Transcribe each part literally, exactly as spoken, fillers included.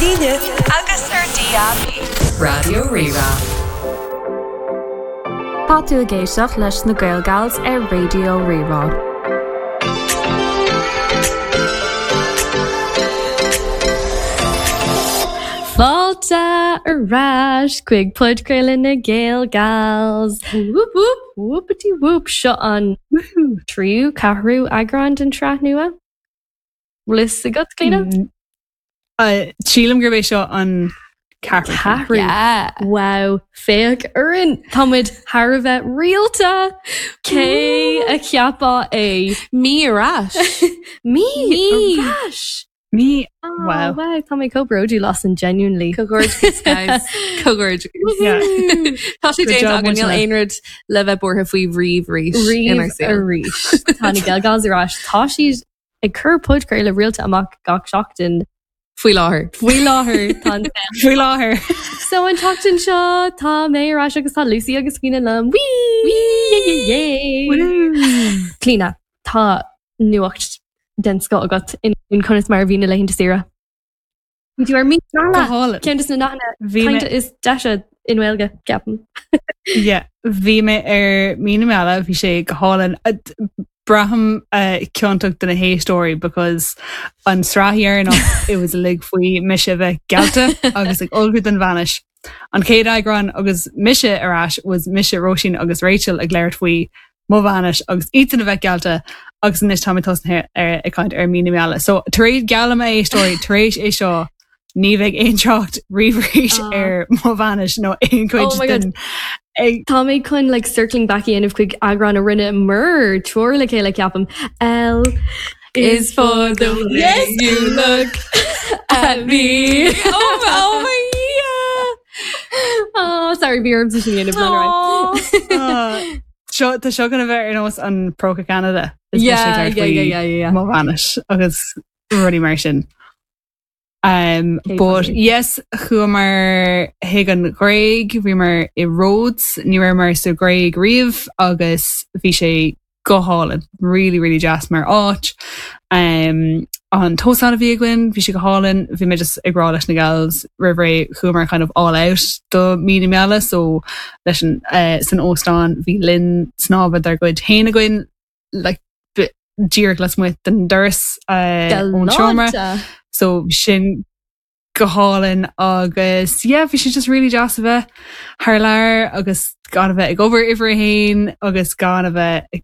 líne agus ar DAB. Raidió Rí-Rá. Tá tú ag éisteacht leis na Gaelgals ar Raidió Rí-Rá. Fáilte ar ais chuig podchraoladh na Gaelgals. Whoop whoop whoopity whoop seo an tríú ceathrú eagrán den tsraith nua. Bhfuil fhios agat Clíona? Mm, Sílim gurb é seo an ceathrú. Ceathrú. Yeah. Wow, féach orainn Tá muid thar a bheith rialta Cé a cheapfadh é Mí ar ais. Mí Mí. ar ais. Mí Oh, Wow. wow, tá mé chomh bródúil asainn genuinely. Comhghairdeachas guys. Comhghairdeachas. Yeah. Tá sé Good déanta job, againn níl muidne. aon rud le bheith buartha faoi riamh arís inár Riamh saol. arís. Tá na Gaelgals ar ais. Tá siad ag cur podchraoladh rialta amach gach seachtain. Faoi láthair. Faoi láthair tá an Faoi láthair. So an tseachtain seo tá mé ar ais agus tá Lucy agus Clíona liom. Whee! Yay, yay, yay! Clíona, tá nuacht den scoth agat in in conas mar a bhí na laethanta saoire. Bhí tú ar mí Go hálainn. Ceann de na nathanna Bhí mé- cainte is deise i nGaeilge ceapaim. Yeah, bhí mé ar mí na meala, bhí sé go hálainn. Uh, d- Braithim uh, ciontach do na héisteoirí because an sraith dheireanach it was uilig faoi mise bheith geallta agus ag ullmhú don bhainis. An chéad eagrán agus mise ar ais was mise Róisín agus Rachel ag labhairt faoi mo bhainis agus iadsan a bheith geallta agus anois tá mé tosnaithe ar ag caint ar mí na meala. So tar éis geallaim a éisteoirí tar éis é seo ní bheidh aon trácht riamh arís Ah. ar mo bhainis nó aon chuid Oh my God. den ag Tá mé chun like circling back dhéanamh chuig eagrán a rinneamar triúr le chéile ceapaim. L Is for the way Yes! you look at me. Oh, oh my Oh, sorry, bhí orm sin dhéanamh yeah. Ah, Seo tá seo gonna bheith ar nós an Próca Canada Is Yeah, mise ag labhairt yeah, faoi yeah, yeah, yeah. mo bhainis agus rudaí mar sin. Um, Cé but funny. yes, chuamar chuig an Ghréig, bhíomar i Rhodes, ní rabhamar sa Ghréig riamh agus bhí sé go hálainn, really really deas mar áit. Um, an t-óstán a bhí againn, bhí sé go hálainn, bhí mé just ag rá leis na gals roimh ré chuamar kind of all out do mí na meala, so leis an uh, san óstán bhí linn snámha dár gcuid féin againn like, bi- díreach lasmuigh den doras uh, ón seomra. Galánta. So sin go hálainn agus yeah, bhí sé just really deas a bheith thar lear agus gan a bheith ag obair uimhir a haon agus gan a bheith ag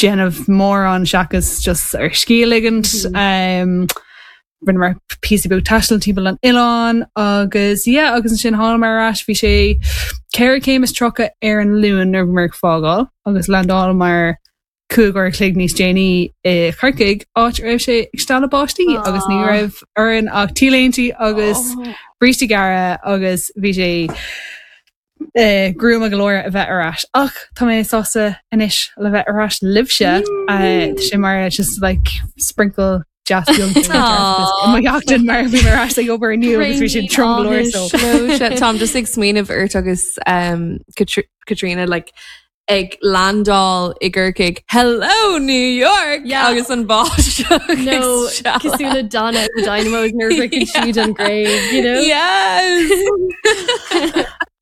déanamh mórán seachas just ar scíth a ligint. Um, Rinneamar píosa beag taistil timpeall an oileán agus yeah, agus ansin thángamar ar ais bhí sé ceithre chéim is tríocha ar an Luan nuair a bhíomar ag fágáil agus landálamar cúig uair a chloig níos déanaí i Corcaigh áit a raibh sé ag stealladh báistí agus ní Aw. raibh orainn ach T-léinte agus Oh. brístí gearra agus bhí sé eh, gruama go leor a bheith ar ais. Ach tá mé sásta anois le bheith ar ais libhse uh, tá sé mar just like sprinkle deas beag Aw. mo sheachtain mar bhí mé ar ais ag obair inniu agus bhí sé trom go leor so. No, shit, Táim just ag smaoineamh ort agus um, Katr- Katrina like ag landáil i gCorcaigh Hello New York Yeah. agus an báisteach No, cosúil le Donna the Dynamos nuair a shroicheann siad an Ghréig, you know? Yes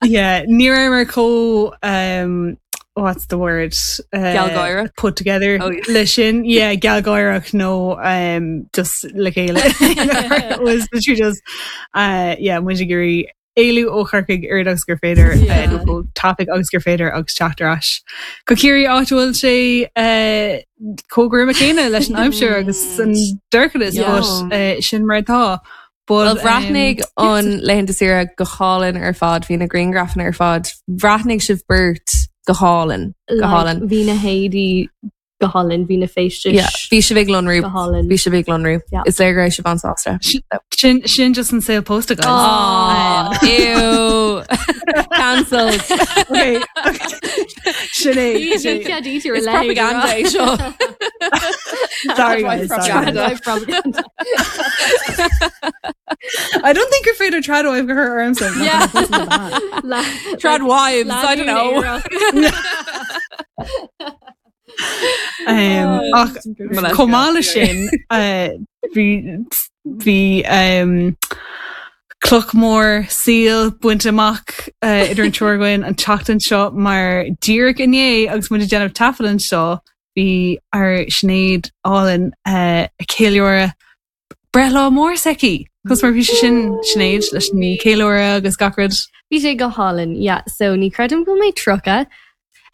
Yeah, ní raibh chomh um, what's the word? Uh, Gealgháireach? Put together Oh, yeah. leis sin yeah gealgháireach nó um, just le chéile was literally just uh, yeah muid ag iarraidh éalú ó Chorcaigh oiread agus gur féidir Yeah. uh, nó tapaidh agus gur féidir agus teacht ar ais. Go Ciarraí áit a bhfuil sé uh, chomh gruama céanna leis an aimsir agus an dorchadas Yeah. but uh, sin mar atá. But, Well bhreathnaigh um, an laethanta saoire go hálainn ar fad bhí na grianghrafanna ar fad bhreathnaigh sibh beirt go hálainn go Like, hálainn Bhí na héadaí go hálainn, bhí na feistis Yeah, bhí sibh ag lonrú go hálainn. bhí sibh ag lonrú Yeah. Is léir go raibh sibh an-sásta. Sin, sin just an saol pósta guys. Oh, ew. Cancelled. Okay. Sin é, sin é. It's propaganda é seo. Sorry guys, sorry. Propaganda. Propaganda. I don't think you're afraid of tradwife go her arms. Yeah. Trad wives, I don't know. Um, ach Molesca. chomh maith leis sin uh, bhí bhí um, cloch mór saoil bainte amach uh, idir an triúr againn an tseachtain seo mar díreach inné agus muid ag déanamh taifead anseo bhí ár Sinéad álainn uh, ag ceiliúradh breithlá mór s'aici. Cos mar bhí sé sin Sinéad leis an ceiliúradh agus gach rud. Bhí sé go hálainn, yeah, so ní creidim go mé tríocha.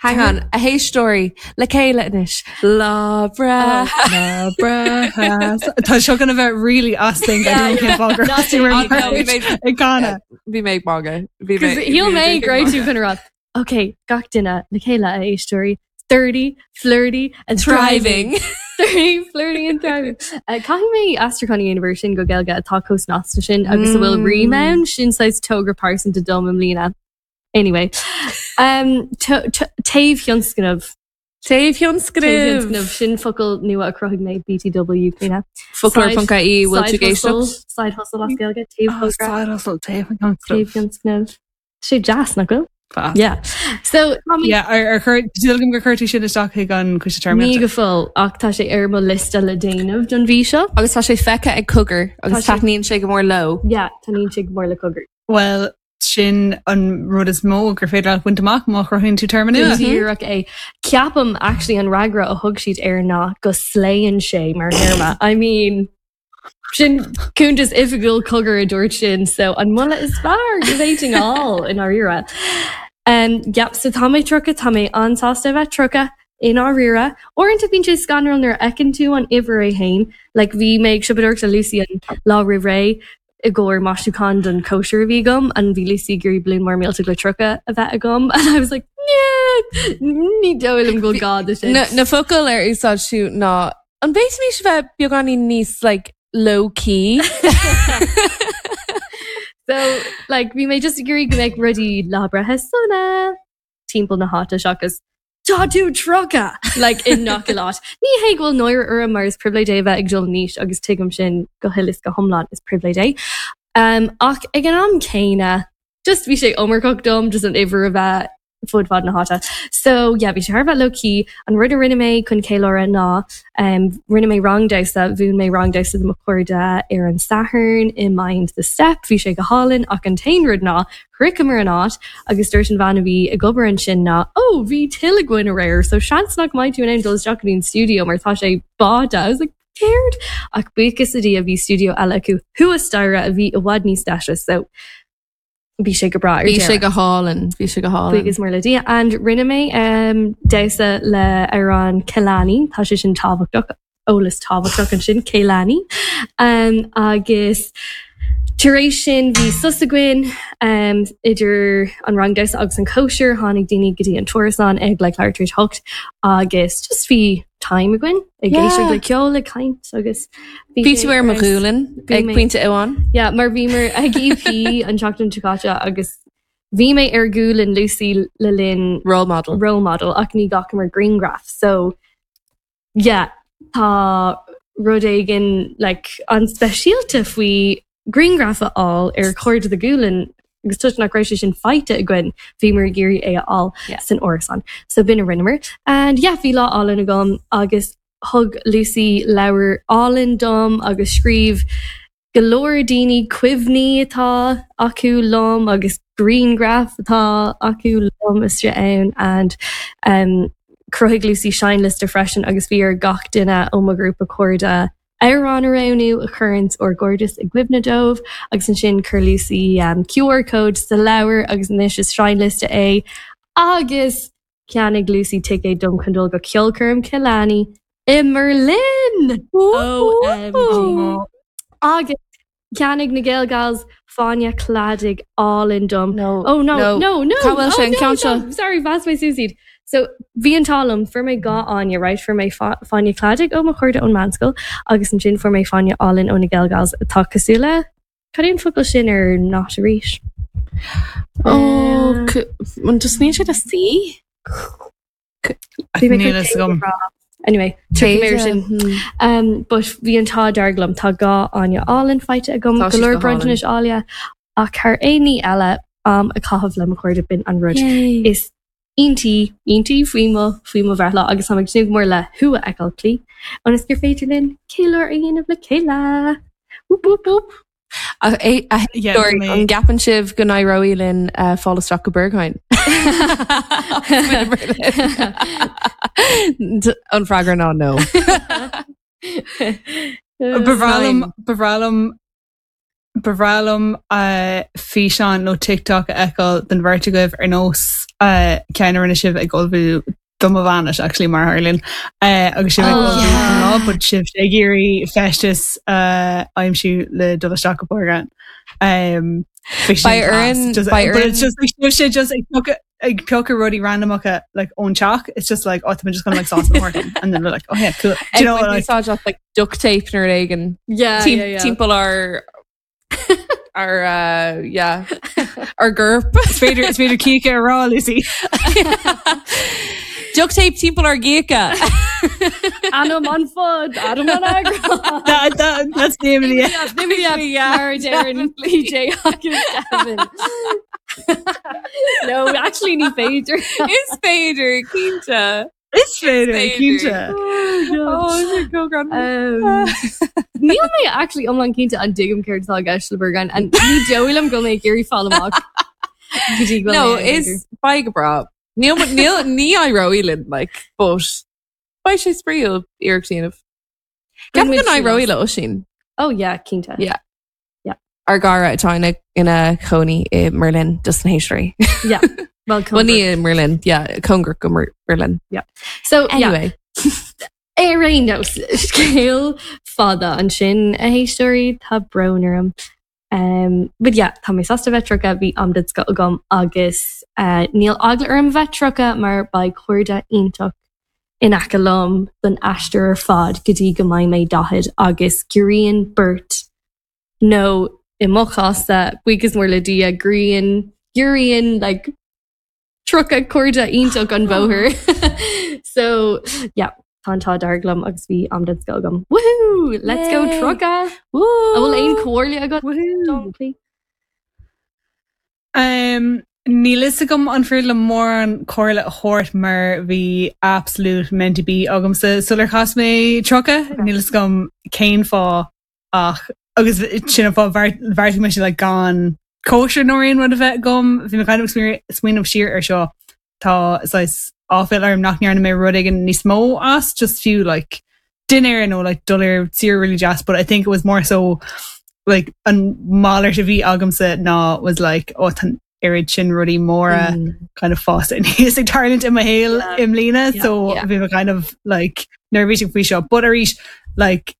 Hang on, a héisteoirí le chéile anois. Lá breithe. Tá seo gonna bheith really asting ag canadh. Bhí mé ag magadh. Shíl mé go raibh tú chun rá. Ok, gach duine le chéile a éisteoirí. Thirty, flirty and thriving. Thirty, flirty and thriving. Uh, Caithfidh mé aistriúchán a dhéanamh sin go Gaeilge atá chomh snasta sin agus a bhfuil rím ann sin saghas togra pearsanta dom i mbliana. Anyway, um, taobh thionscnamh. Taobh thionscnamh. Sin focal nua a chruthaigh mé BTW Clíona. Foclóir.ie bhfuil tú ag éisteacht? Side hustle as Gaeilge, taobh Oh, side hustle taobh Taobh thionscnamh. Sé deas nach bhfuil? Yeah. So Yeah, ar ar chuir gur chuir tú sin isteach chuig an coiste ní téarmaíochta. go fóill ach tá sé ar mo liosta le déanamh don mhí seo. Agus tá sé feicthe ag Cogar agus Tá sé- taitníonn sé go mór leo. Yeah, taitníonn sé go mór le Cogar. Well, sin an rud is mó gur féidir leat baint amach má chruthaíonn tú téarma nua. Díreach é. Ceapaim actually an fhreagra a thug siad air ná go slayann sé mar théarma. I mean, sin cuntas oifigiúil Cogar a dúirt sin, so an moladh is fearr go bhféadfainn a fháil i ndáiríre. Um, yep, so tá mé tríocha tá mé an-sásta bheith tríocha i ndáiríre. Uaireanta bíonn sé scanrúil nuair a fheiceann tú an uimhir é féin, like bhí mé ag siopadóireacht le Lucy an lá roimh ré i gcomhair maisiúchán don chóisir a bhí agam an bhí Lucy ag iarraidh balún mór millteach le tríocha a bheith agam and I was like yeah, ní dóigh liom go bhfuil gá do sin. Na, na focail ar úsáid tú ná an bhféadfaimis bheith beagáinín níos like low key. So like bhí mé just ag iarraidh go mbeadh rudaí lá breithe sona timpeall na háite seachas Tá tú tríocha like i ngach áit. Ní hé go bhfuil náire orm mar is pribhléid é bheith ag dul in aois agus tuigim sin go huile is go hiomlán is pribhléid é. Um, ach ag an am céanna just bhí sé iomarcach dom just an uimhir a bheith fud fad na háite. So yeah, bhí sé thar a bheith low key an rud a rinne mé chun ceiliúradh ná um, rinne mé rang damhsa mhúin mé rang damhsa do mo chairde ar an Satharn i Mind the Step, bhí sé go hálainn ach an t-aon rud ná shroicheamar an áit agus dúirt an bhean a bhí ag obair ansin ná ó bhí tuile againn aréir, so seans nach mbeidh tú in ann dul isteach go dtí an studio mar tá sé báite. I was like, céard? Ach buíochas le Dia bhí studio eile acu thuas staighre a bhí i bhfad níos deise, so bhí sé go breá ar Bhí sé deireadh. go hálainn, bhí sé go hálainn. Buíochas mór le Dia. And rinne mé um, damhsa le amhrán Kehlani, tá sé sin tábhachtach eolas tábhachtach ansin Kehlani. Um, agus tar éis sin bhí sos againn um, idir an rang damhsa agus an cóisir tháinig daoine go dtí an t-árasán ag le leathuair tar éis hocht agus just bhí time againn ag Yeah. éisteacht le ceol ag caint agus Bhí tú ar mo ghualainn Bhí ag mé- pointe amháin. Yeah, mar bhíomar ag EP an tseachtain seo caite agus bhí mé ar ghualainn Lucy le linn Role model. role model ach ní ghlacamar grianghraf. So yeah, tá rud éigin like, an speisialta faoi grianghraf a fháil ar chuid de ghualainn agus toisc nach raibh sé sin faighte againn bhíomar ag iarraidh é a fháil Yeah. san árasán. So b'in a rinneamar. And yeah, bhí lá álainn agam agus thug Lucy leabhar álainn dom agus scríobh go leor daoine cuimhní atá acu liom agus grianghraif atá acu liom istigh ann and um, chruthaigh Lucy seinnliosta freisin agus bhí ar gach duine ó mo ghrúpa cairde amhrán a roghnú a chuireann ár gcairdeas i gcuimhne dóibh agus ansin chuir Lucy um, QR code sa leabhar agus anois is seinnliosta é agus cheannaigh Lucy ticéad dom chun dul go ceolchoirm Kehlani i mBerlin! OMG. Agus cheannaigh na Gael Gals fáinne cladaigh álainn dom. No. Oh no, no, no, no. Cá bhfuil oh, sé an no, ceann seo? no. Sorry, mheasc mé suas iad. So bhí an t-ádh liom fuair mé dhá fháinne, right? Fuair mé fáinne cladaigh ó mo chairde ón meánscoil agus ansin fuair mé fáinne álainn ó na Gael Gals atá cosúil le cad é an focal sin ar not arís. Oh, an just níl sé a C? Bhí mé Níl chun fhios agam. rá. Anyway, tiocfaidh mé air sin. Um, but bhí an t-ádh dearg liom tá dhá fháinne álainn faighte agam Tá go siad leor go bronntanais áille ach thar aon ní eile am a chaitheamh le mo chairde b'in an rud is iontaí iontaí faoi mo faoi mo bhreithlá agus tá ag tnúth go mór le thú a fheiceáil Clí ionas gur féidir linn ceiliúradh a dhéanamh le chéile. Whoop, whoop, whoop. A a- a Yeah, Sorry, tá mé- an gceapann sibh go n-éireoidh linn uh, fáil isteach go Berghain. An freagra ná no. Ba bhreá liom ba bhreá liom ba bhreá liom uh, físeán nó TikTok a fheiceáil den bheirt agaibh ar nós uh, ceann a rinne sibh ag ullmhú do mo bhainis actually mar tharlaíonn uh, agus sibh ag Oh, ullmhú yeah. don lá, but sibh ag iarraidh feisteas uh, aimsiú le dul isteach go Berghain. Um, bhí sin Beidh class. orainn- Just- beidh but it's orainn- just like sibh sé just ag piocadh ag piocadh rudaí randomacha like ón teach it's just like oh, I'm just gonna like sauce and work and then we're like oh yeah cool Do you know like Úsáid as like duct tape nó rud éigin Yeah, Tim- yeah, yeah. timpeall ar ar uh, yeah ar gcorp is féidir is féidir cíche a rá Lucy duct tape timpeall ar gcíche Ainm an phoid, ainm an eagrán. that, that, that's the name of the Yeah, Mar Darren, PJ agus Gavin. No, actually ní féidir. Is féidir cinnte Is féidir féidir. cinnte. Oh, go Um, Níl mé actually iomlán cinnte an dtuigim céard atá i gceist le Berghain and ní dóigh liom go mé ag iarraidh fáil amach. Go dtí go No, mé ag is beidh go breá. Níl níl ní éireoidh linn like but beidh sé spraíúil iarracht a dhéanamh. Ceapaim go n-éireoidh le Oisín. Oh yeah, cinnte. Yeah. Ár gcara atá ina ina chónaí i mBerlin dos na héisteoirí. Yeah. Well, Well ní i mBerlin, yeah, cóngarach go Mer- Berlin. So yeah, Anyway, ar aon nós scéal fada ansin a héisteoirí tá brón orm. Um, but yeah, tá mé sásta bheith tríocha bhí am den scoth agam agus uh, níl eagla orm bheith tríocha mar beidh cairde iontach in aice liom don aistear ar fad go dtí go mbeidh mé daichead agus giorraíonn beirt nó i mo chás-sa buíochas mór le Dia grian giorraíonn like tríocha cairde iontach an bóthar. so yeah, tá an t-ádh dearg liom agus bhí am den scoth agam. Woohoo! Let's go Yay! tríocha! Woo! An bhfuil aon chomhairle agat dom, please? Um, Níl fhios agam an féidir liom mórán comhairle a thabhairt mar bhí absolute meant to be agamsa sular chas mé tríocha níl fhios agam cén fáth ach agus sin an fáth bheartaigh mé like gan cóisir nó aon rud a bheith agam bhí mé kind of smaoineamh siar ar seo tá saghas áiféala orm nach ndearna mé rud éigin níos mó as just fiú like dinner nó like dul ar saoire really deas but I think it was more so like an malairt a bhí agamsa ná was like oh tá oiread sin rudaí móra Mm. kind of fásta níos ag tarlúint i mo shaol Yeah. i mbliana Yeah, so yeah. bhí mé kind of like neirbhíseach faoi seo but arís like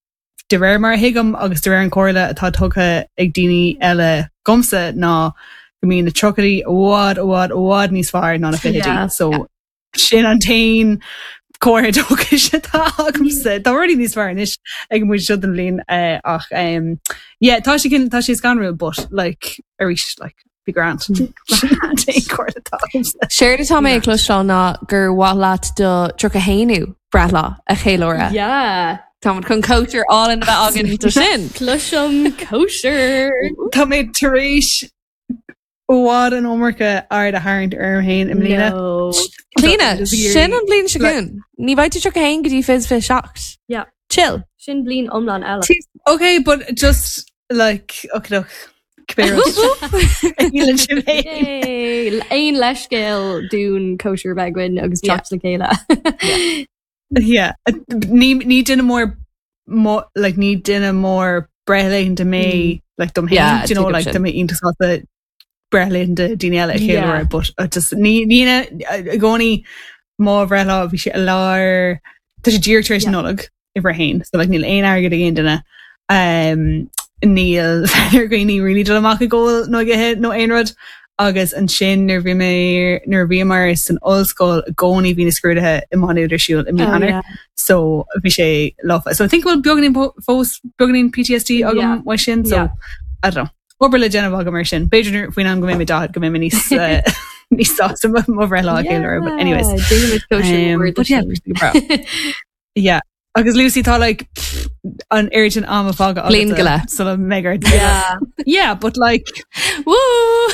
de réir mar a thuigim agus de réir an chomhairle atá tugtha ag daoine eile dhomsa ná go mbíonn na tríochaidí i bhfad i bhfad i bhfad níos fearr ná na fichidí Yeah. so sin an t-aon chomhairle dóchais atá agamsa Tá rudaí níos fearr anois ag muid seo den bhliain eh, ach um, yeah, tá sé cin- tá sé scanrúil but like arís like be grand Sin an t-aon chomhairle atá agamsa. Séard atá mé ag cloisteáil ná gur mhaith leat do tríocha haonú breithlá a cheiliúradh. Yeah. Tá chun cóisir álainn a bheith againn do sin. Cloisim cóisir. Tá mé tar éis i bhfad an iomarca aird a tharraingt orm féin i mbliana. No. Clíona, Just iarraidh- sin an bhliain seo chugainn. Ní bheidh tú tríocha haon go dtí fiche fiche seacht. Yeah. Chill. Sin bliain iomlán eile. Okay, but just like okay, look, sin féin. Yay! Aon leithscéal dúinn cóisir a bheith againn agus Yeah. teacht le chéile. Yeah, ní ní duine mór mo like ní duine mór breithlaethanta mé like dom Yeah, féin, do you know tuigim like sin. tá mé iontach sásta breithlaethanta daoine eile a Yeah. cheiliúradh, but uh, just ní ní i gcónaí mo bhreithlá bhí sé i lár tá sé díreach tar éis Yeah. Nollag uimhir a haon, so like níl aon airgead ag aon duine um, níl ar dhaoine really dul amach ag ól nó ag ithe nó aon rud agus ansin nuair bhí mé nuair bhíomar san ollscoil i gcónaí bhí na scrúduithe i Má Nuad ar siúl i mí Oh, Eanáir. yeah. so bhí sé lofa. So I think bhfuil beagáinín po- fós beagáinín PTSD agam Yeah. uaidh sin so Yeah. I don't know. Obair le déanamh agam mar sin. B'fhéidir faoin am go mbeidh mé daichead go mbeidh mé níos uh, níos sásta mo bhreithlá a cheiliúradh, but anyways. Déanaimid cóisir Um, mór but yeah, sin. bhí yeah. Agus Lucy tá like pff, an oiread sin ama fágtha Bliain go leith. sula mbeidh Yeah. Yeah, but like Woo!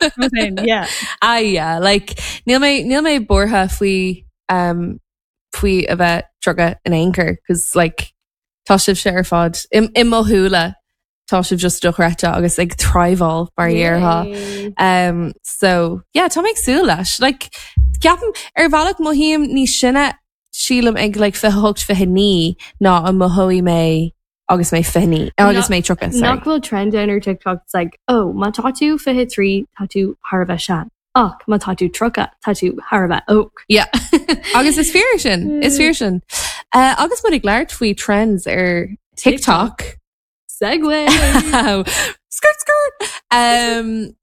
I'm saying, yeah. Ah yeah, like níl mé níl mé buartha faoi um faoi a bheith tríocha in aon chor, cos like tá sibh sé ar fad im im mo shúile tá sibh just dochreidte agus ag thriveáil mar a déarfá. Yay. Um, so yeah, tá mé ag súil leis. Like, ceapaim ar bhealach mothaím níos sine sílim ag like fiche hocht fiche naoi ná a mhothaigh mé agus mé fiche naoi agus mé tríocha. Nach bhfuil trend ann ar TikTok it's like oh má tá tú fiche trí tá tú thar a bheith sean. Ach má tá tú tríocha tá tú thar a bheith óg. Yeah. agus is fíor sin is fíor sin. Uh, agus muid ag labhairt faoi trends ar TikTok. Segue. skirt skirt. Um,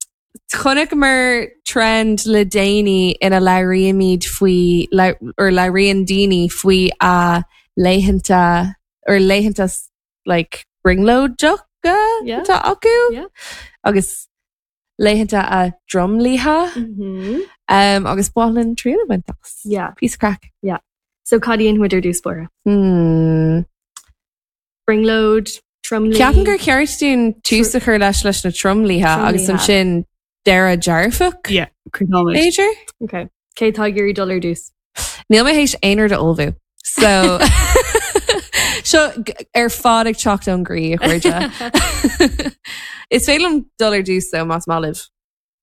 Chonaiceamar trend le déanaí ina labhraímid faoi or labhraíonn daoine faoi a laethanta or laethanta like brionglóideacha Yeah. atá acu Yeah. agus laethanta a dtromluithe Mhm. um, agus bhálan trína bhaintas. Yeah. Piece craic. So cad a dhéanfaidh muid ar dtús báire. Hmm. Brionglóid, tromluí. Ceapaim gur ceart dúinn tús a chur leis leis na tromluithe agus Tromluithe. ansin deireadh dearfach Yeah, críochnóimid. B'fhéidir? Okay. Cé tá ag iarraidh dul ar dtús. Níl mé théis aon rud a ullmhú. So seo g- ar fad ag teacht ón gcroí a chairde. Is féidir liom dul ar dtús though más maith libh.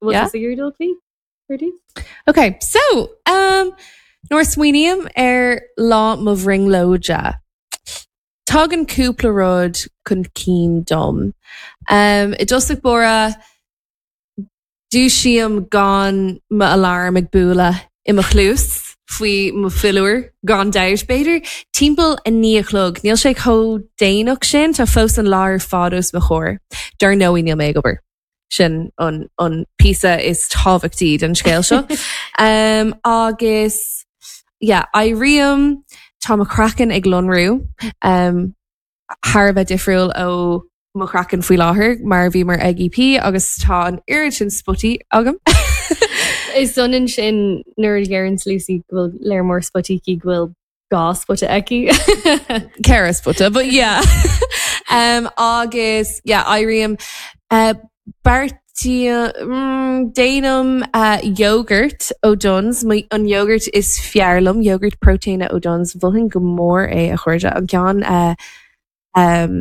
Bhfuil Yeah. tusa ag iarraidh dul faoi? Ar dtús? Okay, so um, nuair a smaoiním ar lá mo bhrionglóide. Tagann cúpla rud chun cinn dom. Um, I dtosach báire dúisím gan m'alarm ag bualadh i mo chluas faoi mo philiúr gan dabht b'fhéidir timpeall a naoi a chlog, Níl sé chomh déanach sin tá fós an lá ar fad os mo chomhair. Dar ndóigh níl mé ag obair. Sin an, an píosa is tábhachtaí den scéal seo. um, agus yeah, éirím tá mo chraiceann ag lonrú um, thar a bheith difriúil ó mo chraiceann faoi láthair mar bhí mar ag EP agus tá an oiread sin spotaí agam. Is ionann sin nuair a deireann Lucy go bhfuil léir mór spotaí aici go bhfuil dhá spota aici. Ceithre spota, but yeah. um, agus yeah, éirím uh, Beartaí mm, déanaim uh, yogurt ó Dunnes an yogurt is fearr liom yogurt protéine ó Dunnes mholfainn go mór é a chairde an ceann uh, um,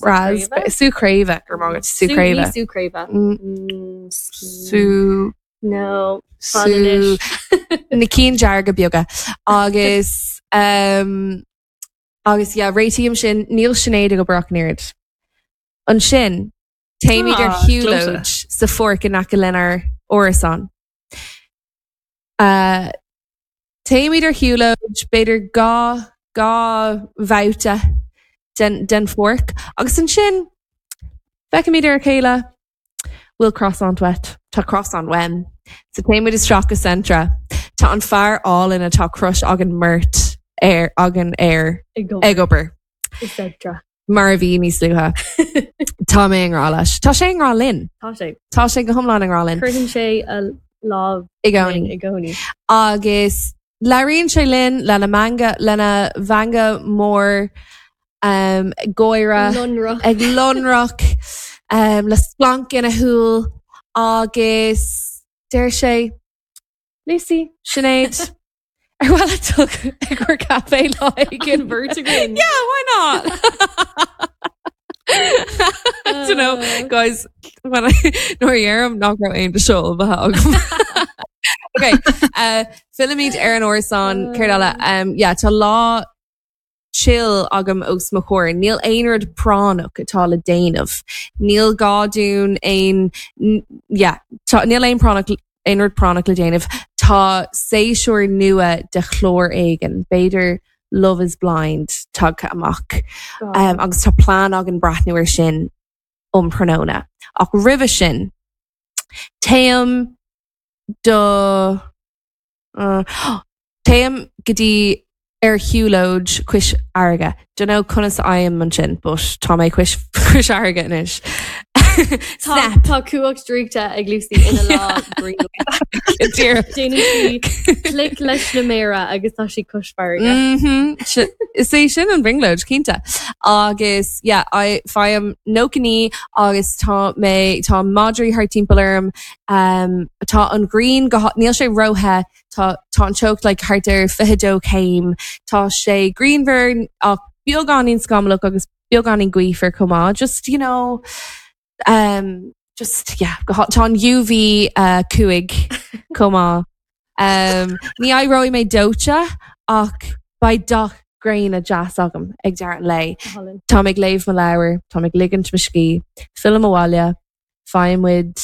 ras sú craobh gur má sú craobh Sú craobh. Mm, sú No. sú na cinn dearga beaga agus um, agus yeah, réitím sin níl Sinéad ag obair ach an oiread. Ansin téimid ar Ah, shiúlóid sa pháirc in aice lenár árasán. Uh, téimid ar shiúlóid b'fhéidir dhá dhá bhabhta den, den pháirc agus ansin feicimid ar a chéile bhfuil croissant uait Tá croissant uaim. So téimid isteach go Centra. Tá an fear álainn atá crush againn mbeirt ar againn air ag obair. Etc. Mar a bhí níos luaithe. Tá mé i ngrá leis. Tá sé i ngrá linn. Tá sé. Tá sé go hiomlán i ngrá linn. Cuireann sé a lámh I gcónaí. i gcónaí. Agus labhraíonn sé linn lena meangadh lena mheangadh mór um, gáire Lonrach. ag lonrach um, le splanc ina shúil agus deir sé Lucy Sinéad ar mhaith leat dul ag gur caife lá An bheirt againn. Yeah, why not? I don't know Uh. guys when I nuair a deirim nach raibh aon seo agam. Okay, uh, fillimid ar an árasán céard eile um, yeah, tá lá chill agam os mo chomhair. Níl aon rud práinneach atá le déanamh. Níl gá dúinn aon yeah, tá, níl aon práinneach aon rud práinneach le déanamh. Tá séasúr nua de chlár éigin, b'fhéidir Love is Blind tagtha amach. Um, agus tá plean againn breathnú air sin um tráthnóna. Ach roimhe sin téim do uh, téim go dtí ar shiúlóid cois fharraige. Don't know conas a fhaighim ansin, but tá mé cois cois fharraige anois. Tá tá cumhacht draíochta ag Lucy ina lá Dear. Déanann sí clic leis na méara agus tá sí cois farraige. Mhm. Is é sin an bhrionglóid cinnte. Agus yeah, I faighim nócha naoi agus tá mé tá madraí thart timpeall orm um, tá an ghrian go níl sé róthe tá tá an teocht like thart ar fiche dó céim Tá sé grianmhar ach beagáinín scamallach agus Beagáinín gaofar chomh maith just you know um, just yeah go tá an UV uh, cúig chomh maith. Um, ní éireoidh mé dóite ach beidh dath gréine deas agam ag deireadh an lae. Tá ag léamh mo leabhar, tá ag ligint mo scíth, fillim abhaile, faighim muid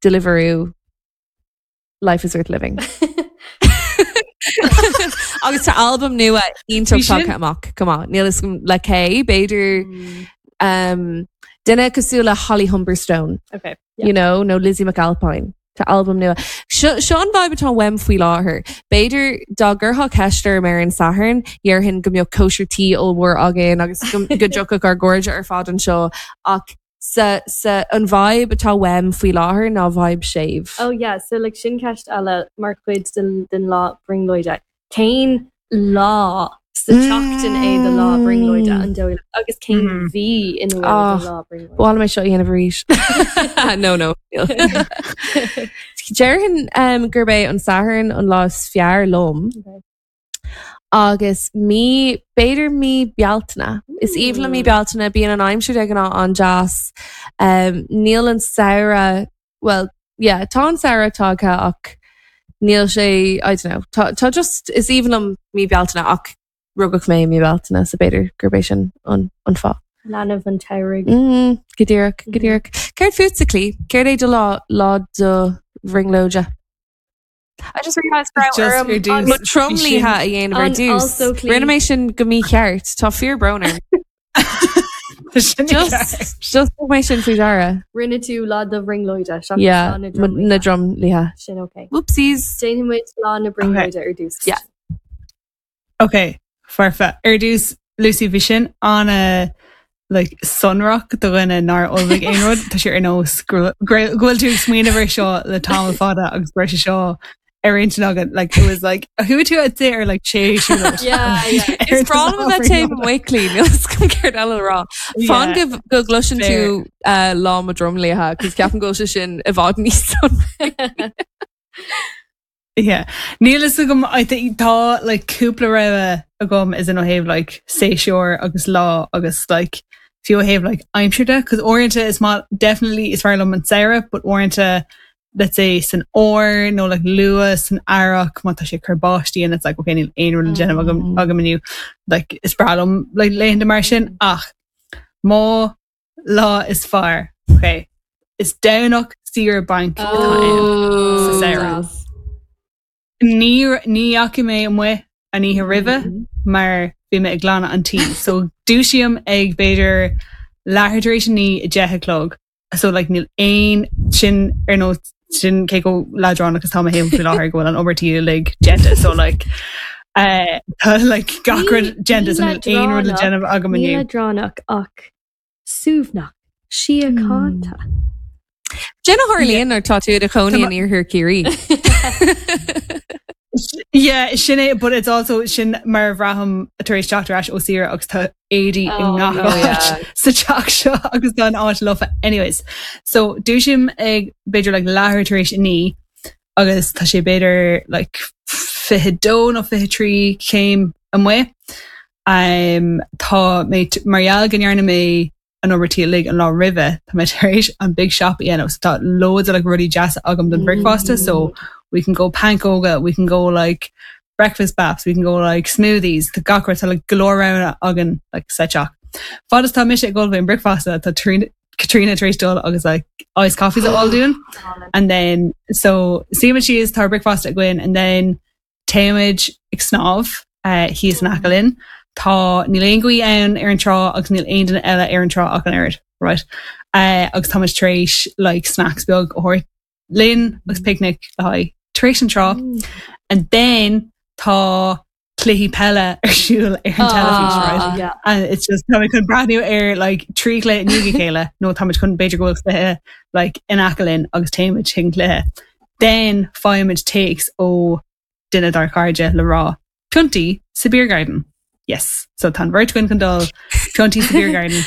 Deliveroo Life is worth living. Agus tá albam nua iontach tagtha amach come on níl is le cé b'fhéidir um, duine cosúil le Holly Humberstone Okay. you know nó Lizzie McAlpine Tá albam nua. Seo an vibe atá uaim faoi láthair. B'fhéidir dá gcuirfeá ceist orm ar an Satharn, déarfainn go mbeadh cóisir tí ollmhór againn agus go dtiocfadh ár gcairde ar fad anseo ach sa, sa an vibe atá uaim faoi láthair ná vibe séimh. Oh yeah, so like sin ceist eile mar chuid den, den lá brionglóide. Cén lá sa tseachtain é do lá brionglóide an dóigh agus cén Mhm. mhí ina bhfuil Ah, do lá brionglóide. Bhil mé seo dhéanamh arís. No no. Déarfainn um, gurb é an Satharn an lá is fearr liom. Okay. agus mí b'fhéidir mí Bealtaine. Is aoibhinn liom mí Bealtaine bíonn an aimsir de ghnáth an-deas. Um, níl an samhradh well yeah, tá an samhradh tagtha ach níl sé I don't know tá, tá just is aoibhinn liom mí Bealtaine ach rugadh mé mí Bealtaine so b'fhéidir gurb é sin an, an fáth. Leanbh an tsamhraidh. Mm, go díreach go díreach. Céard fútsa Clí, Céard é do lá lá do bhrionglóide. I just realized Just ar dtús, mo tromluithe a dhéanamh ar An dtús. also Clí- Rinne mé sin go mícheart tá fíorbrón orm. Sin Just just thug mé sin faoi deara. Rinne tú lá do bhrionglóide seachas Yeah, lá na ma- na dromluithe. dromluithe. Sin okay. Whoopsies. Déanfaidh muid lá na brionglóide ar dtús. Yeah. Okay, foirfe. Ar dtús Lucy bhí sin an like sonrach do dhuine nár ullmhaigh aon rud tá sé ar nós go bhfuil tú ag smaoineamh air seo le tamall fada agus breis seo ar intinn agat like it was like who tú a ar like sé Yeah, yeah. Is breá liom a bheith taobh amuigh Clí níl céard eile rá. Fan go go gcloiseann tú uh, lá mo dromluithe, cos ceapaim go bhfuil sé sin i bhfad níos son. Yeah. Níl a fhios agam I think tá like cúpla rogha agam is in ó thaobh like séasúr agus lá agus like fiú ó thaobh like aimsir de, cos uaireanta is má definitely is fearr liom an samhradh, but uaireanta let's say san fhómhar nó like luath san earrach má tá sé cur báistí and it's like okay níl aon rud le déanamh agam Mm. agam inniu like is breá liom like laethanta mar sin ach mo lá is fearr okay is Domhnach saoire bainc atá ann sa samhradh. Ní ní fhaca mé amuigh an oíche roimhe mar bhí mé ag glanadh an tí. So dúisím ag b'fhéidir leathuair tar éis a naoi a deich a chlog. So like níl aon sin ar nó sin cé go leadránach is tá mé féin faoi láthair go bhfuil an obair tí uilig déanta. So like uh, tá like gach rud déanta so níl aon rud le déanamh agam Ní inniu. leadránach ach suaimhneach, síochánta. Sin a tharlaíonn nuair tá tú i do chónaí in iarthar Chiarraí. Yeah, sin é, but it's also sin mar a bhraithim tar éis teacht ar ais ó saoire agus tá éadaí i Oh, ngach oh, áit yeah. sa teach seo agus tá an áit lofa. Anyways, so dúisím ag b'fhéidir like leathuair tar éis a naoi agus tá sé b'fhéidir like fiche dó nó fiche trí céim amuigh. Um, tá mé t- mar gheall go ndearna mé an obair tí uilig an lá roimhe tá mé tar éis an big shop a dhéanamh so tá loads of like rudaí deasa agam don breakfast so we can go pancóga, we can go like breakfast baps, we can go like smoothies, tá gach rud tá like go leor roghanna againn like sa teach. Fad is tá mise ag ullmhú an breakfast tá Trina Katrina tar éis dul agus like iced coffees a fháil dúinn. And then so suímid síos tá breakfast againn and then téimid ag snámh uh, thíos in aice linn. Tá níl aon ghaoth ann ar an trá agus níl aon duine eile ar an trá ach an oiread, right? Uh, agus táimid tar éis like snacks beag a thabhairt linn agus picnic le haghaidh tar éis an trá. And then tá cluichí peile ar siúl ar an teilifís, right? Yeah. And it's just táimid chun breathnú ar like trí chluiche i ndiaidh a chéile nó táimid chun b'fhéidir go bhfuil cluiche like in aice linn agus téimid chuig an cluiche. Then faighimid téacs ó duine dár cairde le rá piontaí sa beer garden. Yes, so tá an bheirt againn chun dul piontaí sa beer garden.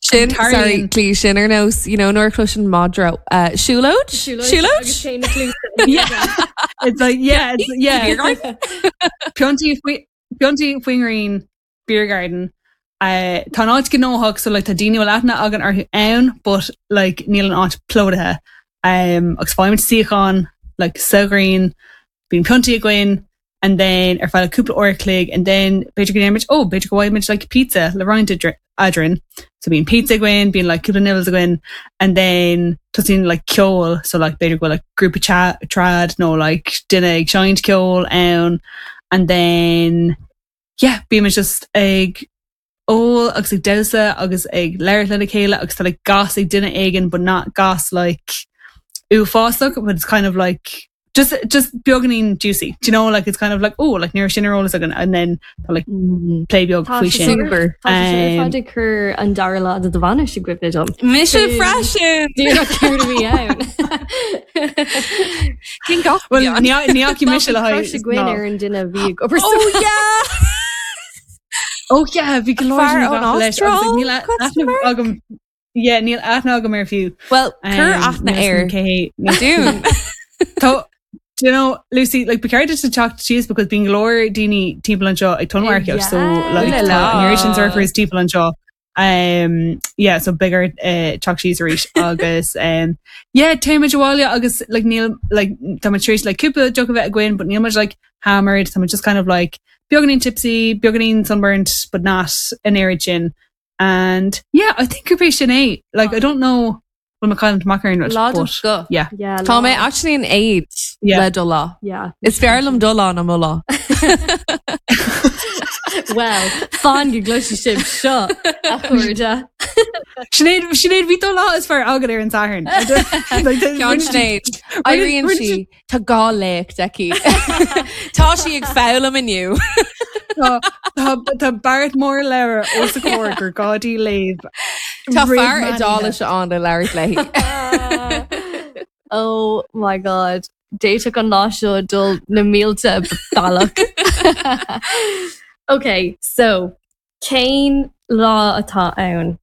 Sin Tarlaíonn- sorry Clí sin ar nós you know nuair a chloiseann madra uh, siúlóid siúlóid Agus sé na cluasa. Yeah. It's like yeah, it's, yeah. Beer garden? Piontaí faoi piontaí faoin ngrian beer garden Uh, tá an áit gnóthach so like tá daoine bhfuil aithne againn orthu ann, but like níl an áit plódaithe. Um, agus faighimid suíochán like sa ghrian, bíonn piontaí againn, and then ar feadh cúpla uair chloig, and then b'fhéidir go ndéarfaimid, oh, b'fhéidir go bhfaighimid like pizza le roinnt eadrainn. So bíonn pizza againn, bíonn like cúpla nibbles againn, and then tosaíonn like ceol, so like b'fhéidir go bhfuil like grúpa trad nó like duine ag seinnt ceoil ann, and then yeah, bímid just ag ól agus ag damhsa agus ag labhairt lena chéile agus tá like gas ag duine éigin but not gas like uafásach, but it's kind of like just just beagáinín juicy. Do you know like it's kind of like oh like ní sin ar eolas againn and then tá like plé beag faoi sin. Super. Tá sé Um, fad ag cur an dara lá de do bhainis i gcuimhne dom. Mise freisin! Díreach céard a bhí ann. Cén gach Well ní ní fhaca mise le Crush haghaidh againn ná. ar an duine a bhí ag obair Oh yeah! Oh yeah, bhí go leor Fear daoine ón gafa leis, agus, like, níl Astráil? aithne Question mark? agam Yeah, níl aithne agam air fiú. Well, cur Um, aithne níl air. fhios agam cé hé. Dún. Tá do you know, Lucy, like ba cheart duit teacht síos because bíonn go leor daoine timpeall anseo ag tonnmharcaíocht, so like Yeah. tá an oiread sin surfers timpeall anseo. Um, yeah, so bigger uh, teacht síos arís agus um, yeah, téimid abhaile agus like níl like tá muid tar éis like cúpla deoch a bheith againn, but níl muid like hammered, tá muid just kind of like beagáinín tipsy, beagáinín sunburnt, but not an oiread sin. And yeah, I think gurb é sin é. Like I don't know bhfuil mé caillte amach ar aon rud, Lá but go. yeah. Yeah, Tá mé lá. actually in éad Yeah. le do lá. Yeah. Is fearr liom do lá ná mo lá. Well, fan go gcloisfidh sibh seo a chairde. Sinéad Sinéad bhí do lá is fearr agat ar an Satharn. Like, the- Ceann Sinéad. Éiríonn sí tá dhá léacht aici. Tá sí ag foghlaim inniu. Tá tá- tá beart mór leabhar os a comhair gur gá di léamh. Tá roimh fear meán Iodáilis ann le labhairt léi. Oh my god. D'fhéadfadh an lá seo dul na mílte bealach. Ok, so cén lá atá ann?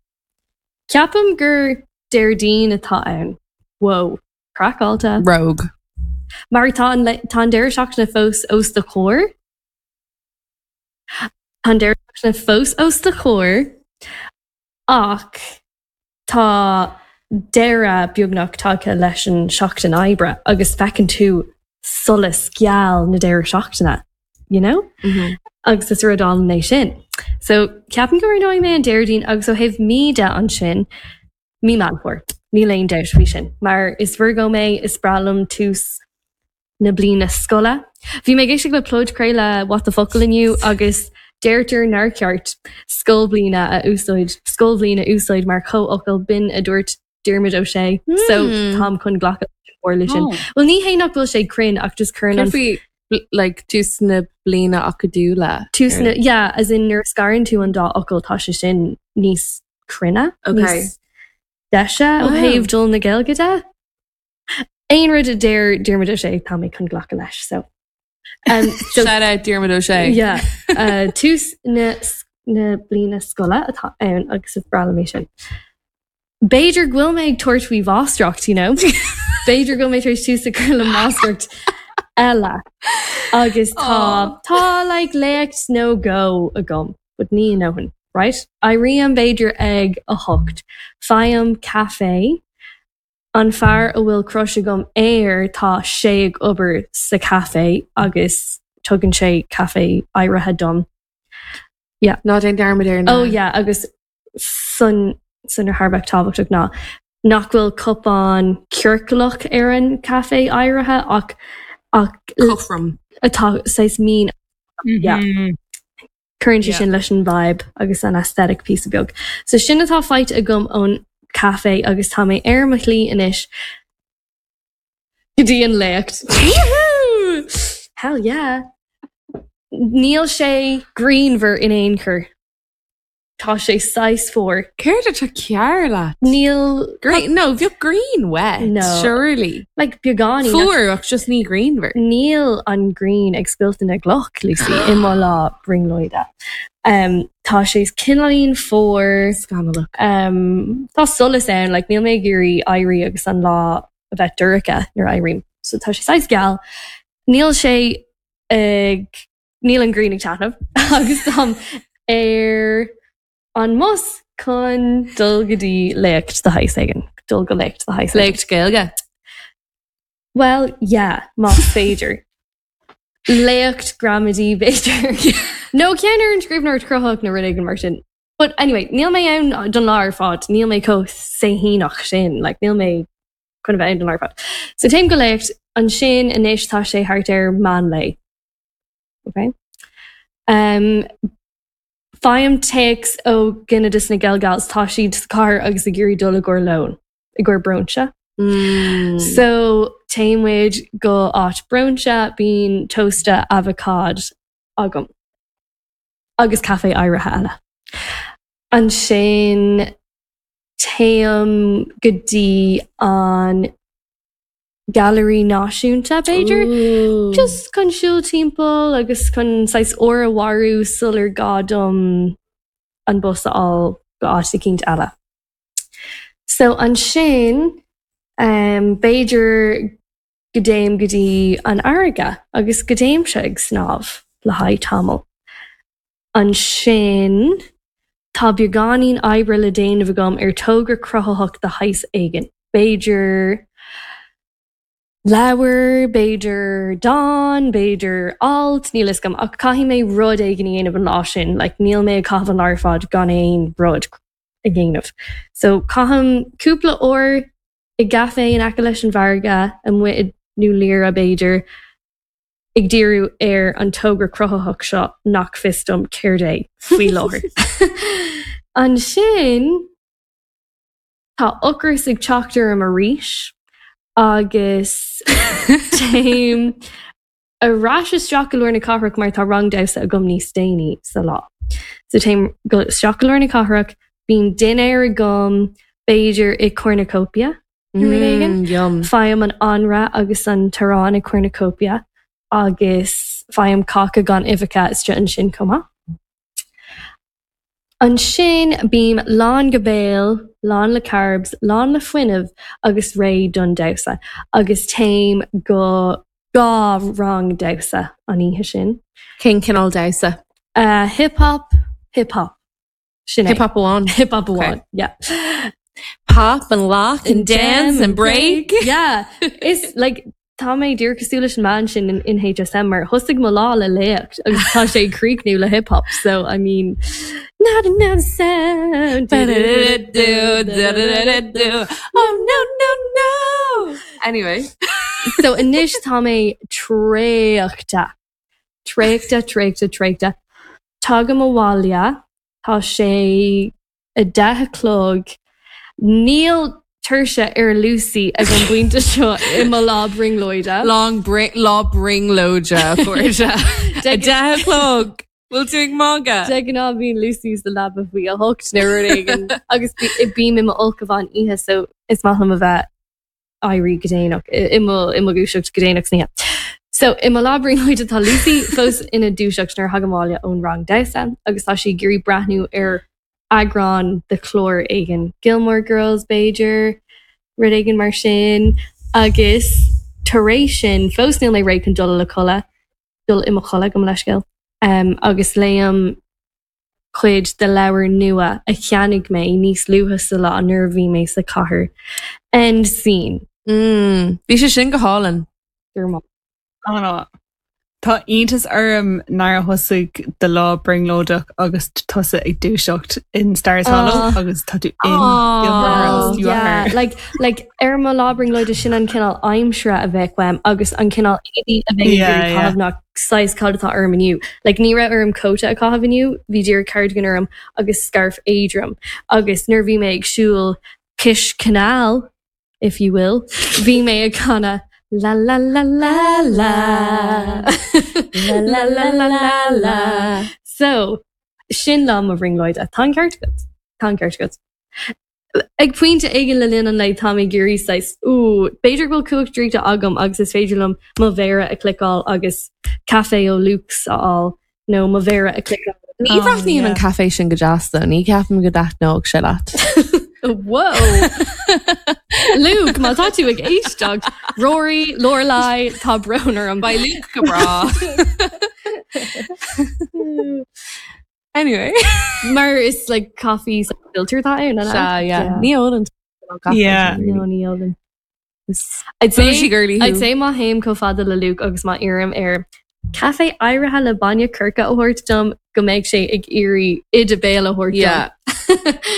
Ceapaim gur Déardaoin atá ann. Whoa, craiceáilte. Rogue. Mar tá an le- tá an deireadh seachtaine fós os do chomhair. Tá an deireadh seachtaine fós os do chomhair ach tá deireadh beagnach tagtha leis an seachtain oibre agus feiceann tú solas geal na deireadh seachtaine, you know? Agus is rud álainn é sin. So ceapaim go raibh mé an Déardaoin agus ó thaobh mí de ansin mí Meán Fómhair. Níl aon dabht faoi sin. Mar is Virgo mé is breá liom tús na bliana scoile. Bhí mé ag éisteacht le podchraoladh What the Focal inniu agus deirtear nár cheart scoilbhliana a úsáid scoilbhliain a úsáid mar chomhfhocal b'in a dúirt Diarmuid Ó Sé. So Hmm. táim chun glacadh leis sin. Oh. Well ní hé nach bhfuil sé cruinn ach just cuireann an Faoi like tús na bliana acadúla. tús na yeah, as in nuair a scarann tú an dá fhocal tá sé sin níos cruinne Okay. níos deise ó Wow. thaobh dul na Gaeilge de. Aon rud a deir Diarmuid Ó Sé tá mé chun glacadh leis so. Um, so Shout out Diarmuid Ó Sé. yeah, uh, tús na, na bliana scoile atá ann agus is breá liom é sin. B'fhéidir go bhfuil mé ag tabhairt faoi mháistreacht, you know? B'fhéidir go bhfuil mé tar éis tús a chur le máistreacht eile. Agus tá Aw. tá like léacht nó dhó agam, but ní a ndóthain, right? Éirím b'fhéidir ag a hocht. Faighim caife an fear a bhfuil crush agam air tá sé ag obair sa caife agus tugann sé caife áirithe dom. Ná déan dearmad ar na. Oh yeah, agus san san ar thar tábhachtach ná nach bhfuil cupán ciorclach ar an caife áirithe ach ach Cothrom. atá saghas mín Yeah. Mhm. cuireann sé Yeah. sin leis an vibe agus an aesthetic piece beag. So sin atá faighte agam ón caife agus tá mé ar mo shlí anois go dtí an léacht. Woohoo! Hell yeah! Níl sé grianmhar in aon chor. Tá sé saghas fuar. Céard atá cearr leat? Níl Green, no, bhí green wet. No. Surely. like beagáinín Fuar ach just ní grianmhar. Níl an ghrian ag scoilteadh na gcloch Lucy i mo lá brionglóide. Um, tá sé cineáilín fuar Scannalach. um, tá solas ann like, níl mé ag iarraidh éirí agus an lá a bheith dorcha nuair a éirím. So tá sé saghas geal. Níl sé ag níl an ghrian ag taitneamh agus táim ar an mbus chun dul go dtí léacht de shaghas éigin, dul go léacht de shaghas éigin. Léacht Gaeilge. Well, yeah, más féidir. Léacht gramadaí b'fhéidir. Nó ceann ar an scríbhneoireacht chruthaitheach nó rud éigin mar sin. But anyway, níl mé ann don lá ar fad, níl mé chomh saoithíneach sin, like, níl mé chun a bheith ann don lá ar fad. So téim go léacht ansin anois tá sé thart ar meán lae. Okay? Um, Faighim téacs ó dhuine de na GaelGals tá siad sa chathair agus ag iarraidh dul i gcomhair lóin, i gcomhair brúinse. Mm. So téann muid go áit brúinse bíonn tósta avocado agam. Agus caife áirithe eile. Ansin téim go dtí an Gallery Náisiúnta b'fhéidir. Ooh. Just chun siúl timpeall agus chun saghas uair a mharú sular gá dom an bus a fháil go áit eicínt eile. So ansin um, b'fhéidir go dtéim go dtí an fharraige agus go dtéimse ag snámh le haghaidh tamall. Ansin tá beagáinín oibre le déanamh agam ar togra cruthaitheach de shaghas éigin. B'fhéidir leabhar, b'fhéidir dán, b'fhéidir alt, níl a fhios agam ach caithfidh mé rud éigin a dhéanamh an lá sin, like, níl mé ag caitheamh an lá ar fad gan aon rud a dhéanamh. So caithim cúpla uair i gcaife in aice leis an bhfarraige amuigh i nDún Laoghaire b'fhéidir ag díriú ar an togra cruthaitheach seo nach fios dom céard é faoi láthair. Ansin tá ocras ag teacht orm arís agus téim ar ais isteach go lár na cathrach mar tá rang damhsa agam níos déanaí sa lá. So téim go isteach go lár na cathrach, bíonn dinnéar agam b'fhéidir i Cornucopia nó rud éigin. Mm, yum. Faighim an anraith agus an t-arán i Cornucopia agus faighim cáca gan uibheacha istigh ansin chomh maith. Ansin bím lán go béal, lán le carbs, lán le fuinneamh agus réidh don damhsa agus téim go dhá rang damhsa an oíche sin. Cén cineál damhsa? Uh, hip hop, hip hop. Sin é. Hip hop amháin. Hip hop amháin. Yeah. Pop and lock and dance and break. Yeah. Is like tá mé díreach cosúil leis an mbean sin in, in HSM mar thosaigh mo lá le léacht agus tá sé ag críochnú le hip hop so I mean not another sound Oh no no no Anyway so anois tá mé traochta traochta traochta traochta Tagaim abhaile tá sé a deich a chlog níl tuirse ar Lucy ag an bpointe seo i mo lá brionglóide. Long bring lá brionglóide chuirte A deich a chlog Bhfuil tú ag magadh De ghnáth bíonn Lucy sa leaba faoi a hocht nó rud éigin agus bím i m'ulchabhán oíche so is maith liom a bheith éirí go déanach i mo i mo dhúiseacht go déanach san oíche. So i mo lá brionglóide tá Lucy fós ina dúiseacht nuair a thagaim abhaile ón rang damhsa agus tá sí ag iarraidh breathnú ar eagrán de chlár éigin Gilmore Girls b'fhéidir rud éigin mar sin agus tar éis sin fós níl mé réidh chun dul le codladh dul i mo chodladh gabh mo leithscéal um, agus léim cuid de leabhar nua a cheannaigh mé níos luaithe sa lá nuair a bhí mé sa chathair. End scene. Mm, Bhí sé sin go hálainn. Anna. Tá iontas orm nár thosaigh do lá brionglóideach agus tusa ag dúiseacht in Stars Hollow Ah. agus tá tú in Aw. Gilmore Girls you yeah, are. like like ar mo lá brionglóide sin an cineál aimsire a bheadh uaim agus an cineál éadaí a bheinn Yeah, ag yeah. caitheamh ná saghas cad atá orm inniu. Like ní raibh orm cóta a chaitheamh inniu, bhí díreach cardigan orm agus scarf éadrom. Agus nuair bhí mé ag siúl cois canal, if you will, bhí mé ag canadh la la la la la la la la la la la. So sin lá mo bhrionglóide tá an ceart agat Tá an ceart agat. Ag pointe éigin le linn an lae tá mé ag iarraidh saghas ú b'fhéidir go bhfuil cumhacht draíochta agam agus is féidir liom mo mhéara a cliceáil agus caife ó Luke's a fháil nó mo mhéara a cliceáil. Ní Oh, bhreathnaíonn yeah. an caife sin go deas though, ní ceapaim go dtaitneodh sé leat. Whoa! Luke, má tá tú ag éisteacht, Rory, Lorelai, tá brón orm. Beidh Luke go breá. Anyway. Mar is like coffee filter atá ann, an ea? Sea, yeah. Ní ólann caife Yeah. No, ní ólaim. I'd say Bougie girly I'd say má théim chomh fada le Luke agus má iarraim air caife áirithe le bainne coirce a thabhairt dom go mbeidh sé ag iarraidh oide béil a thabhairt Yeah.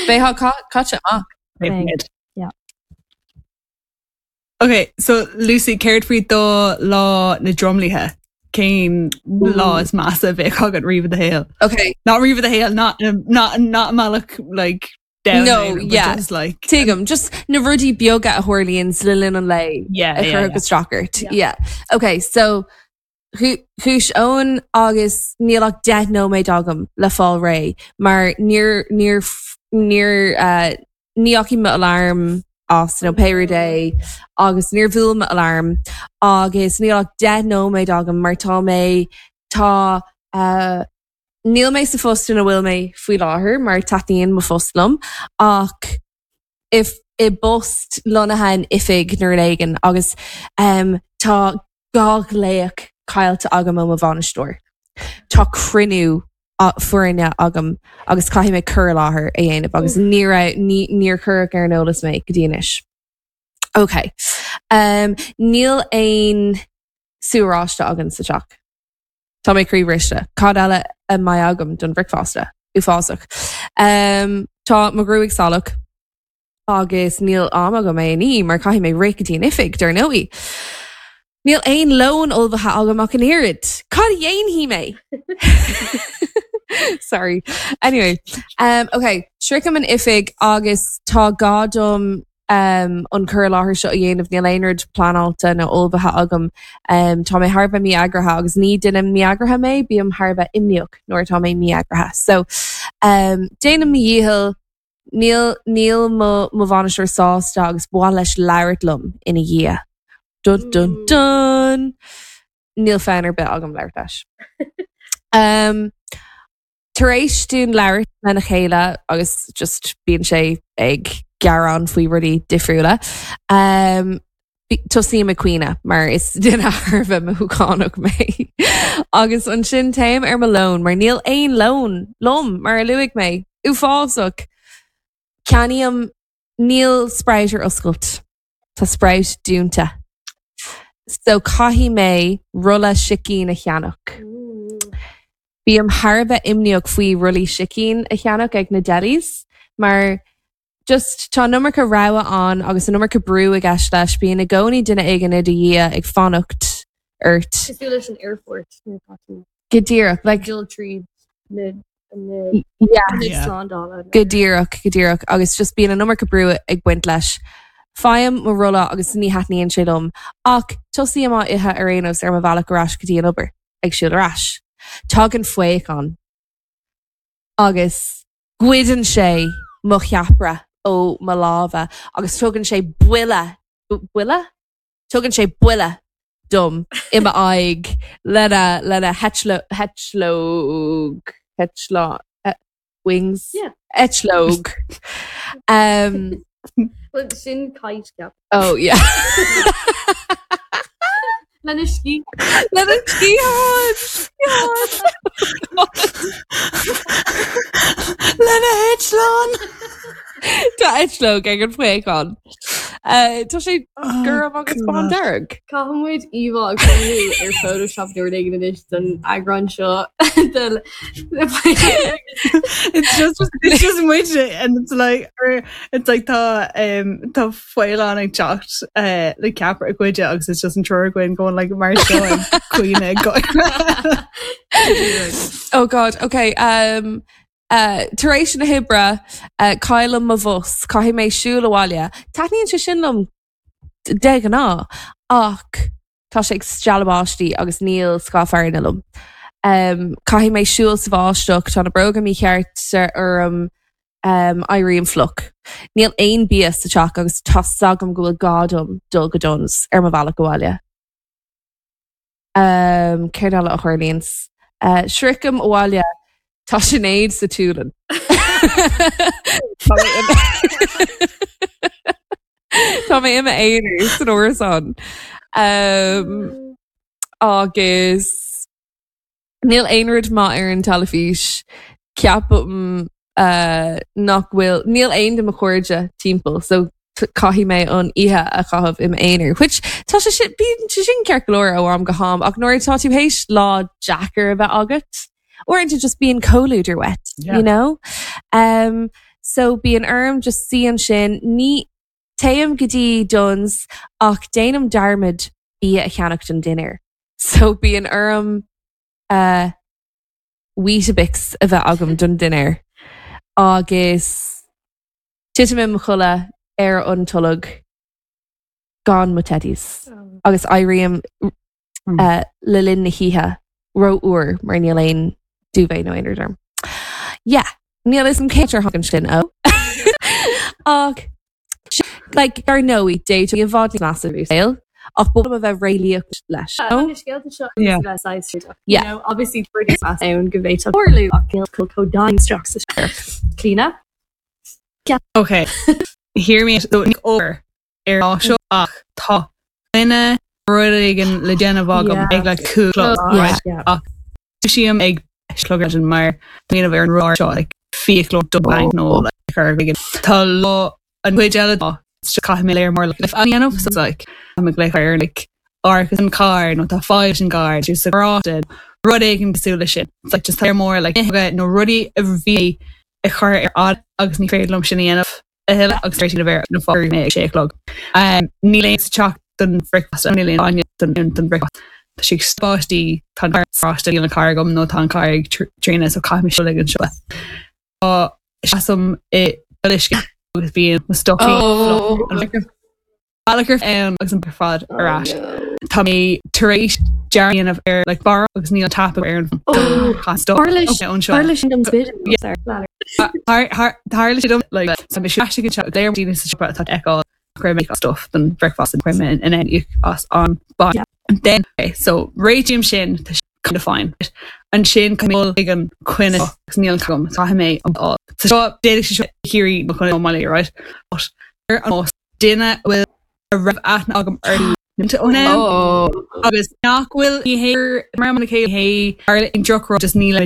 Bheifeá caite amach. Thank. Yeah. Okay, so Lucy, céard faoi do lá na dtromluithe? Cén lá is measa a bheadh agat riamh i do shaol? Okay. Not riamh i do shaol, not not not malach like down No, but yeah. just like Tuigim, just na rudaí beaga a tharlaíonn le linn an lae. yeah, a yeah, chur yeah. go stracart. Yeah. Yeah. Okay, so Dhúisigh Eoin agus níl ach deich nóiméad agam le fáil réidh, mar níor níor níor uh, ní fhaca mé alarm as nó pé rud é agus níor bhuail mo alarm agus níl ach deich nóiméad agam mar tá mé tá uh, níl mé sa phost ina bhfuil mé faoi láthair mar taitníonn mo phost liom ach if i bpost lonnaithe in oifig nuair éigin agus um, tá dhá ghlaoch caillte agam ó mo bhainisteoir. Tá cruinniú foirne agam agus caithfidh mé cur i láthair a dhéanamh agus níor níor cuireadh ar an eolas mé go dtí anois. Ok. Um, níl aon sú oráiste agam sa teach. Tá mé croíbhriste. Cad eile a mbeidh agam don bhricfeasta uafásach. Um, tá mo ghruaig salach agus níl am agam é ní mar caithfidh mé rith go dtí an oifig dar ndóigh. Níl aon lón ullmhaithe agam ach an oiread. Cad dhéanfaidh mé? Sorry. Anyway, um, okay, sroichim an oifig agus tá gá dom um, an cur i láthair seo a dhéanamh níl aon rud pleanáilte nó ullmhaithe agam. Um, tá mé thar a bheith mí-eagraithe agus ní duine mí-eagraithe mé, bím thar a bheith imníoch nuair atá mé mí-eagraithe. So um, déanaim mo dhícheall níl níl mo mo bhainisteoir sásta agus ba mhaith leis labhairt liom ina dhiaidh. Dun dun dun! Níl fonn ar bith agam labhairt leis. Um, Tar éis dúinn labhairt lena chéile agus just bíonn sé ag gearán faoi rudaí difriúla. Um, Tosaím ag caoineadh mar is duine thar a bheith mothúchánach mé. agus ansin téim ar mo lón mar níl aon lón liom mar a luaigh mé uafásach. Ceannaím níl Sprout ar oscailt Tá Sprout dúnta. So caithfidh mé rolla sicín a cheannach. Bím thar a bheith imníoch faoi rollaí sicín a cheannach ag na delis, mar just tá an iomarca rogha ann agus an iomarca brú i gceist leis bíonn i gcónaí duine éigin i do dhiaidh ag fanacht ort. Cosúil leis an airport nuair atá tú Go díreach like dul tríd na na yeah. na Yeah. slándála. Go díreach go díreach agus just bíonn an iomarca brú ag baint leis. Faighim mo rolla agus ní thaitníonn sé liom ach tosaím á ithe ar aon nós ar mo bhealach ar ais go dtí an obair ag siúl ar ais. Tagann faochán agus goideann sé mo cheapaire ó mo lámha agus tugann sé buille buille? Tugann sé buille dom i m'aghaidh lena lena heitleog eitleán wings Yeah. eitleog. Um, Well, sin kite ceap. oh yeah. Lena sciath. Lena sciathán! Lena eitleán! Tá eitleog ag an faochán. Uh, Tá sé gorm agus bán dearg. Caithfidh muid íomhá a chruthú ar Photoshop nuair éigin anois don eagrán seo de- It's just it's just muid and it's like or it's like tá um tá faoileán ag teacht uh, le ceapaire a ghoid agus it's just an triúr againn going like mar seo ag caoineadh go Oh God, okay. Um, uh, tar éis na hoibre uh, caillim mo bhus, caithfidh mé siúl abhaile. Taitníonn sé sin liom de ghnáth ach tá sé ag stealladh báistí agus níl scáth fearthainne liom. Um, caithfidh mé siúl sa bháisteach tá na bróga mícheart orm um, éirím fliuch. Níl aon bia sa teach agus tá a fhios agam go bhfuil gá dom dul go Dunnes ar mo bhealach abhaile. Um, Céard eile a tharlaíonn. Uh, Sroichim abhaile tá Sinéad sa tsúlann. Tá mé i- Tá mé i m'aonar san árasán. Um, agus níl aon rud maith ar an teilifís. Ceapaim uh, nach bhfuil níl aon de mo chairde timpeall, so caithfidh mé an oíche a chaitheamh im aonar, which tá sé sin bíonn sé sin ceart go leor ó am go ham ach nuair tá tú théis lá deacair a bheith agat, uaireanta just bíonn comhluadar uait, Yeah. you know? Um, so bíonn orm just suí ansin ní téim go dtí Dunnes ach déanaim dearmad bia a cheannach don dinnéar. So bíonn orm uh, Weetabix a bheith agam don dinnéar agus titim im chodladh ar an tolg gan mo teddies agus éirím Mm. uh, le linn na hoíche ró-fhuar mar níl aon duvet nó aon rud orm. Yeah, níl is an céidir hagan sin ó. Ach like ar ndóigh dé i bhfad massive saol ach bo a bheith réalaíoch leis. scéalta seo Yeah. Yeah. obviously ann go bhféadfadh tarlú ach Clíona? Okay. Hear me so ní obair ar lá seo ach tá duine rud éigin le déanamh agam Yeah. ag le cúig Yeah. right? Dúisím ag clog mar déanamh ar an rá seo like fiaclóir do bank nó like ar éigin. Tá lá an chuid eile dá caithfidh mé léir mór like an dhéanamh so it's like I'm ag léir like árachas an car nó tá fáil an gar sa ráte rud éigin cosúil leis sin. It's like just léir mór like nó rudaí a bhí a chur ar fad agus ní féidir liom sin a dhéanamh a thuilleadh agus tar a bheith na fá mé ag sé chlog. Um, níl aon sa teach don bhricfeasta níl aon bainne don don bhricfeasta. Tá sé spáistí tá ráiste níl an car agam nó tá an car ag tréine so caithfidh mé siúl ag an seo. Tá seasaim i uisce agus bíonn mo stocaí Oh. Alachar ann agus an fad ar ais. Tá mé tar éis dearnamh ar like bar agus níl tap ar an Tharla anseo. sin dom Tharla sé dom like sa mé se go léir daoine sa siopa atá eáil chuir mé stuff don breakfast and chuir mé in in as an ba. Yeah. And then okay, so réitím sin tá kind of fine. An sin ag an coinne agus níl agam tá mé an á. So seo déidir sé hirí mo chun maile right? But ar an nós duine bhfuil a raibh aithne agam ar nimte ó Oh. agus nach bhfuil ní hé mar an cé hé ar in drochrá just níl